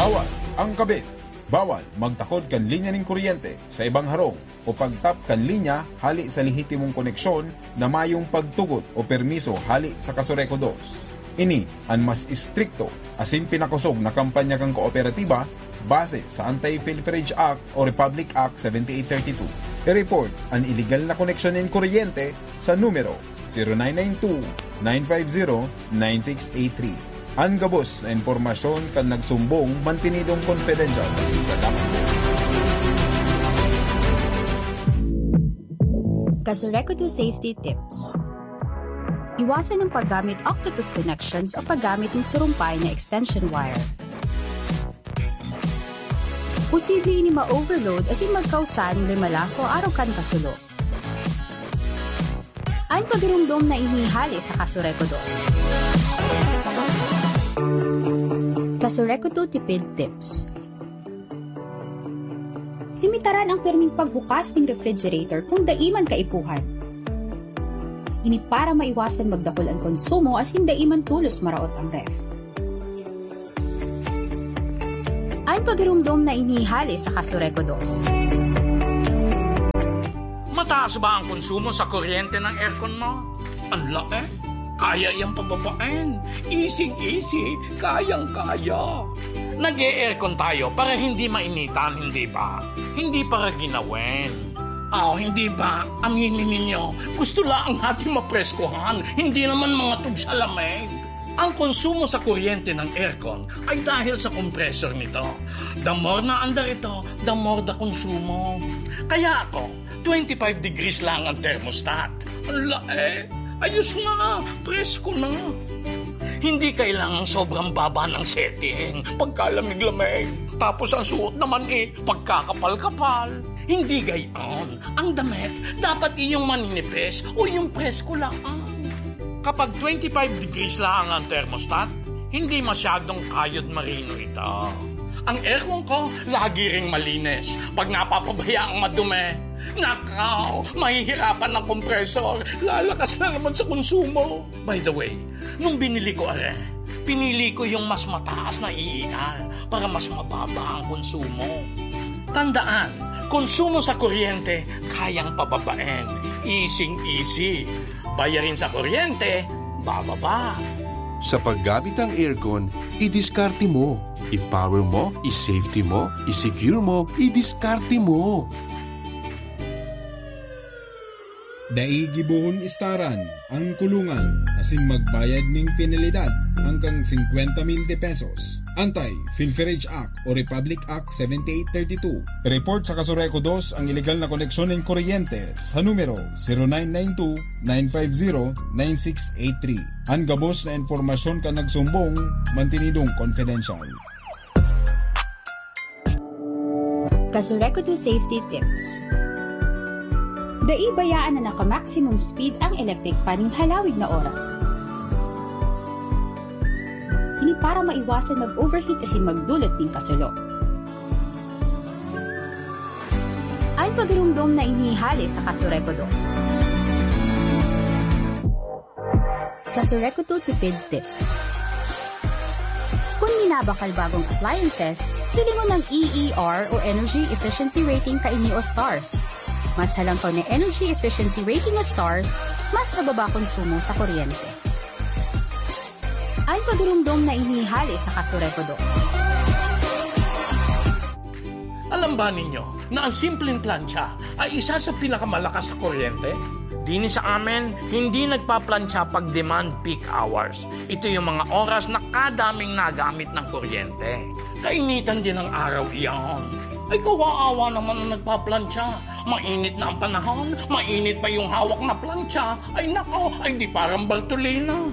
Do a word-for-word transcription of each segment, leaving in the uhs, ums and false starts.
Bawal ang kabit. Bawal magtakod kan linya nin kuryente sa ibang harong o pagtap kan linya hali sa lehitimong koneksyon na mayong pagtugot o permiso hali sa Kasureco dos. Ini an mas istrikto asin pinakosog na kampanya kan kooperatiba base sa Anti-Pilferage Act o Republic Act seventy-eight thirty-two. I-report an iligal na koneksyon nin kuryente sa numero zero nine nine two, nine five zero, nine six eight three. An gabos na impormasyon kan nagsumbong mantinidong confidential sa dapat. Kasureco two Safety Tips. Iwasan ang paggamit octopus connections o paggamit ng surumpay na extension wire. Posible ini ma-overload asin magkausa nin limalaso arog kan kasulo. An pagirumdom na ini hali sa Kasureco dos. Kasureco two Tipid Tips. Limitaran ang pirming pagbukas ning refrigerator kung dai man kaipuhan. Ini para maiwasan magdakul an konsumo asin dai man tolos maraot ang ref. An pagirumdom na ini hali sa Kasureco dos. Mataas ba ang konsumo sa kuryente ng aircon mo? Ang laki. Kaya yang pababain. Easy-easy. Kayang-kaya. Nag-e-aircon tayo para hindi mainitan, hindi ba? Hindi para ginawin. Oh, hindi ba? Aminin ninyo, gusto lang natin mapreskohan, hindi naman mga tugsa lamig. Ang konsumo sa kuryente ng aircon ay dahil sa compressor nito. The more na andar ito, the more the konsumo. Kaya ako, twenty-five degrees lang ang thermostat. Ang lae! Ayos na! Presko na! Hindi kailangang sobrang baba ng setting pagkalamig-lamig. Tapos ang suot naman eh, pagkakapal-kapal. Hindi gayon. Ang damit, dapat iyong maninipis o yung presko lang. Kapag twenty-five degrees lang ang thermostat, hindi masyadong kayod marino ito. Ang aircon ko, lagi ring malinis. Pag napapabayaang madumi, nakaw, mahihirapan ang compressor. Lalakas na naman sa konsumo. By the way, nung binili ko are, pinili ko yung mas mataas na E E R para mas mababa ang konsumo. Tandaan, konsumo sa kuryente, kayang pababain. Easing-easy. Bayarin sa kuryente, bababa. Sa paggamit ng aircon, idiskarte mo. I-power mo, i-safety mo, i-secure mo, idiskarte mo. Dai gibohon istaran ang kulungan asin magbayad nin penalidad hanggang singkwenta mil de pesos. Anti-Pilferage Act o Republic Act seventy-eight thirty-two. Report sa Kasureco dos ang iligal na koneksyon nin kuryente sa numero zero nine nine two, nine five zero, nine six eight three. An gabos na impormasyon kan nagsumbong, mantinidong confidential. Kasureco two Safety Tips. Dai bayaan na naka-maximum speed ang electric fan nin halawig na oras. Ini para maiwasan mag-overheat asin magdulot nin kasulo. An pagirumdom na ini hali sa Kasureco dos. Kasureco two Tipid Tips. Kung minabakal bagong appliances, pili mo ng E E R o Energy Efficiency Rating kaini o stars. Mas halangkaw na energy efficiency rating o stars, mas mababa konsumo sa kuryente. An pagirumdom na ini hali sa Kasureco dos. Alam ba ninyo na ang simpleng plancha ay isa sa pinakamalakas na kuryente? Dini sa amin, hindi nagpaplantsa pag demand peak hours. Ito yung mga oras na kadaming nagamit ng kuryente. Kainitan din ng araw iyan. Ay, kawawa naman ang nagpaplantsa. Mainit na ang panahon, mainit pa yung hawak na plantsa. Ay nako, ay di parang Bartolina.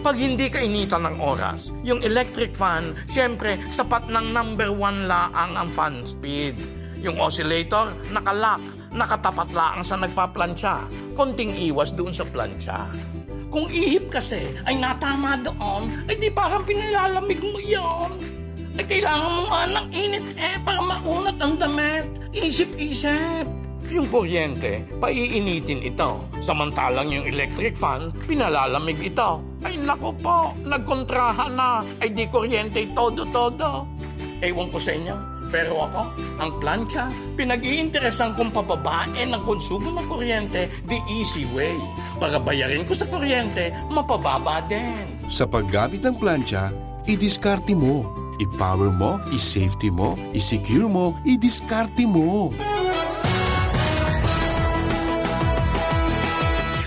Pag hindi kainitan ng oras, yung electric fan, siyempre, sapat ng number one laang ang fan speed. Yung oscillator, nakalock, nakatapat laang sa nagpaplantsa. Konting iwas doon sa plantsa. Kung ihip kasi ay natama doon, ay di parang pinilalamig mo iyon. Ay kailangan mo nga ng init eh para maunat ang damit. Isip-isip. Yung kuryente, paiinitin ito. Samantalang yung electric fan, pinalalamig ito. Ay naku po, nagkontrahan na. Ay di kuryente todo-todo. Ewan ko sa inyo, pero ako, ang plancha, pinag-iinteresan kong pababain ang konsumo ng kuryente the easy way. Para bayarin ko sa kuryente, mapababa din. Sa paggamit ng plancha, idiskarte mo. I-power mo, i-safety mo, i-secure mo, idiskarte mo.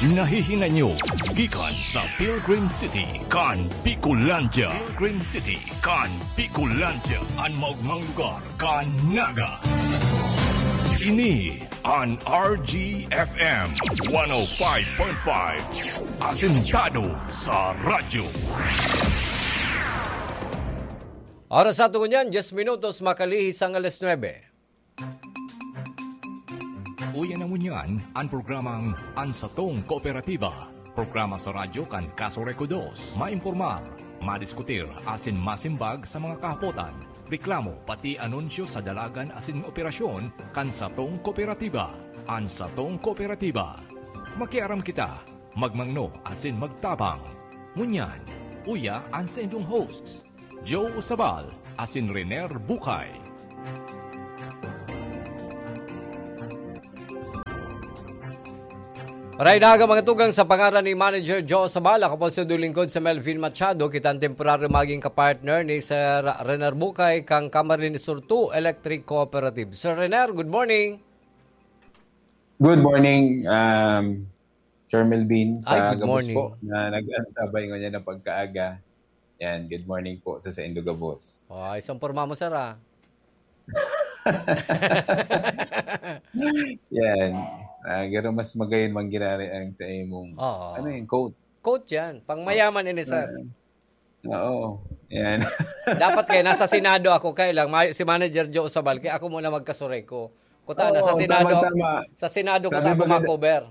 Nahihinay nyo gikan sa Pilgrim City kan Bicolandia. Pilgrim City kan Bicolandia, an maogmang lugar kan Naga. Ini an R G F M one oh five point five, asentado sa radyo. Oras sa ato ngunyan, diyes minutos makalihis ang alas nuebe. Uya na ngunyan an programang An Satong Kooperatiba. Programa sa radyo kan Kaso Reco dos. Maimpormar, madiskutir asin masimbag sa mga kahapotan, reklamo pati anunsyo sa dalagan asin operasyon kan satong kooperatiba. An Satong Kooperatiba. Makiaram kita, magmangno asin magtabang. Ngunyan, uya an saindong host, Joe Sabal asin Rener Bukay. Maray na aga, mga tugang, sa pangaran ni Manager Joe Sabal, ako po si lingkod si Melvin Machado, kita an temporaryo magin kapartner ni Sir Rener Bukay kan Camarines Sur two Electric Cooperative. Sir Rener, good morning. Good morning, um, Sir Melvin, Ay, sa good gabos morning. po na nag-antabay ngunyan na pagkaaga. Yan, good morning po sa saindo gabos. Oh, isang porma mo, sir, ah. Yan. Ah, garo mas magayon manggirari ang sa imong, Oo. ano yung quote? Quote yan. Pang mayaman ini, sir. Ah, oo. Yan. Dapat kaya nasa Senado ako, kaya lang, mayo si Manager Joe Sabal, kaya ako muna magkasureko. Kuta na, Oo, sa Senado, tama, tama. sa Senado ko Sabi ta ako maganda- makover.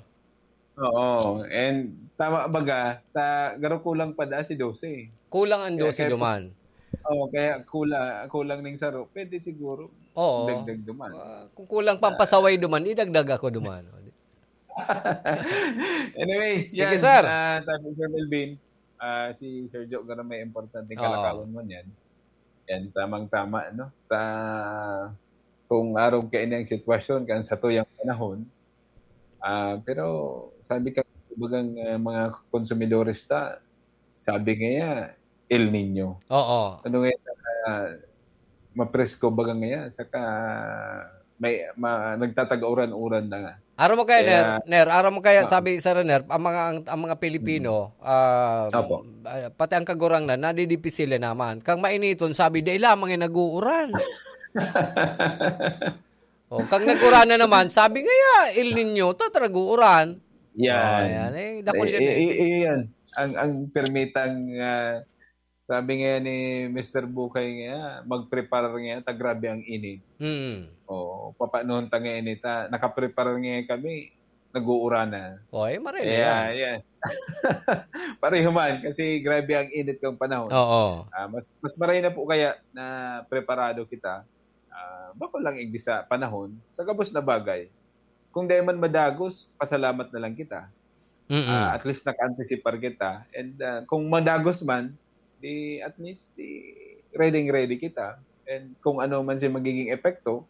Oo. And tama baga, ta, garo kulang pa da si dose. Kulang ang Kaya, dose kaya duman. Oo, kaya kula-, kulang ning saro. Pwede siguro Oo. dagdag duman. Ah, kung kulang pampasaway duman, idagdag ako duman. Anyway, Sige, yan. sir. Ah, sabi ni Sir Melvin, ah, si Sir Joe, garo may importanteng Oo. kalakawan mo niyan. Yan, tamang-tama, no? Ta-, kung arog kaini ang sitwasyon kan satuyang panahon, ah, pero sabi ka, bagang, ah, mga konsumidores ta, sabi ngaya, El Niño. Oo. Ano ngaya, ah, mapresko baga ngaya, saka may, ma-, nagtatag-uran-uran na nga. Aram mo kaya, Kaya Ner, Ner, aram mo kaya, Ah. sabi sa Ner, ang mga, ang, ang mga Pilipino, Mm. ah, Opo. ah, pati ang kagurangnan, nadidipisilan naman. Kang mainiton, sabi, "Dai lamang yung nag-uuran." Oh, kang nag-uran na naman, sabi ngaya, El Niño, ta, ta nag-uuran. Yan. Oh, yan. Eh, dakul Eh, yan eh, eh. eh, eh, yan. Ang, ang permitang, ah, sabi nga ni Mister Bukay nga, mag-prepare nga, ta grabe ang init. Mm. Oo, papanuhon ta nga init, ha? Nakaprepare nga kami, nag-uuran na. Oh, eh, maray na Kaya, yan. yan. Pareho man, kasi grabe ang init ng panahon. Oo. Ah, mas, mas maray na po kaya na preparado kita. Ah, bako lang igdi sa panahon, sa gabos na bagay. Kung dai man madagos, pasalamat na lang kita. Mm-mm. Ah, at least naka-anticipar kita. And, ah, kung madagos man, di at least, di ready-ready kita. And kung ano man si magiging epekto,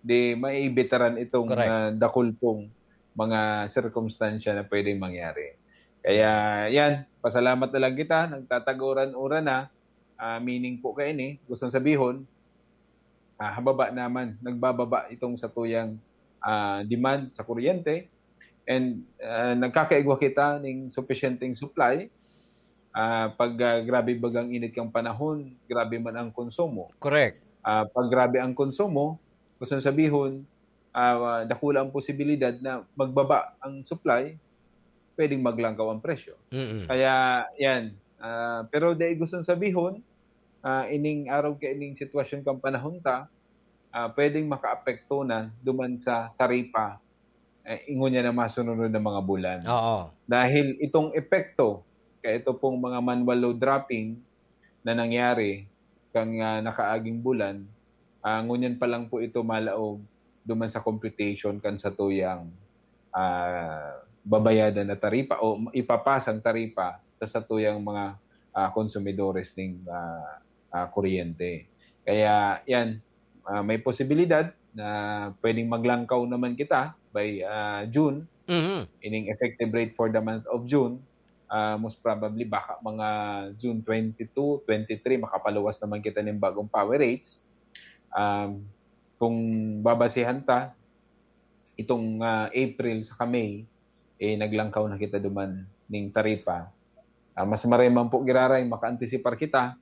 di maibitaran itong, Correct. ah, dakul pong mga sirkumstansya na pwedeng mangyari. Kaya, yan, pasalamat na lang kita, nagtataguran-uran na, ah, meaning po kaini, gustong sabihon, ah, hababa naman, nagbababa itong satuyang, ah, demand sa kuryente, and, ah, nagkakaigwa kita ning supisyenteng supply, ah, pag, ah, grabe bagang init kang panahon, grabe man ang konsumo. Correct. Ah, pag grabe ang konsumo, gustong sabihon, ah, dakula ang posibilidad na magbaba ang supply, pwedeng maglangkaw ang presyo. Mm-mm. Kaya, yan. Ah, pero dai gustong sabihon, ah, ining arog kaining sitwasyon kang panahon ta, ah, pwedeng makaapekto na duman sa taripa, eh, ingon niya na masunod na mga bulan. Oo. Dahil itong epekto, kaya ito pong mga manual load dropping na nangyari kang, ah, nakaaging bulan, ah, ngunyan pa lang po ito malaog duman sa computation kan satuyang, ah, babayadan na taripa o ipapasang taripa sa satuyang mga, ah, konsumidores ning, ah, ah, kuryente. Kaya yan, ah, may posibilidad na pwedeng maglangkaw naman kita by, ah, June, Mhm. ining effective rate for the month of June, ah, most probably baka mga June twenty-two, twenty-three, makapaluwas naman kita ning bagong power rates. Um, kung babasihan ta, itong, ah, April saka May, eh, naglangkaw na kita duman ning taripa. Ah, mas maray man po giraray makaantisipar kita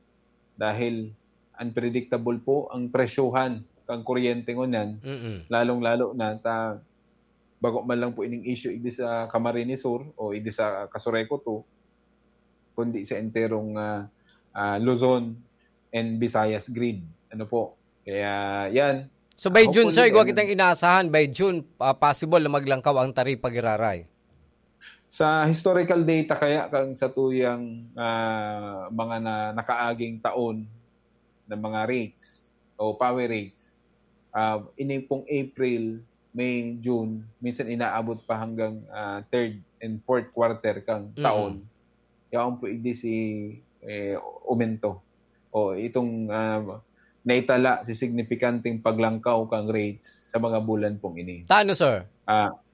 dahil unpredictable po ang presyohan kan kuryente ngunyan, Mm-mm. lalong-lalo na ta bago man lang po ining issue igdi sa Camarines Sur o igdi sa Casureco two, kundi sa enterong, ah, ah, Luzon and Visayas grid. Ano po? Kaya yan. So by June, Hopefully, sir, igwa and- kitang inaasahan, by June, ah, possible na maglangkaw ang taripa giraray. Sa historical data kaya kang sa tuyang, ah, mga na nakaaging taon na mga rates o power rates, ah, ini pong April, May, June, minsan inaabot pa hanggang, ah, third and fourth quarter kang Mm. taon. Yaon po igdi si, eh, umento. O itong, ah, naitala si signifikanteng paglangkaw kang rates sa mga bulan pong ini. Ta ano, sir? Ah,